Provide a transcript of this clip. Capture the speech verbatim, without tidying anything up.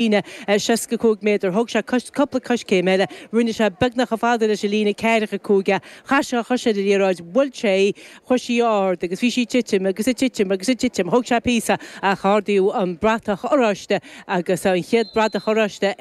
líne seasca cúig méadar. Thóg sé cúpla coiscéim eile, rinne sé beagnach chomh fada leis an líne ceathracha cúig é. Chaith sé a chois ar an liathróid, bhuail sé í, chuaigh sí ard agus bhí sí ag titim agus ag titim agus ag titim. Thóg sé píosa ach ardaíodh an bratach oráiste agus an chéad bratach oráiste ag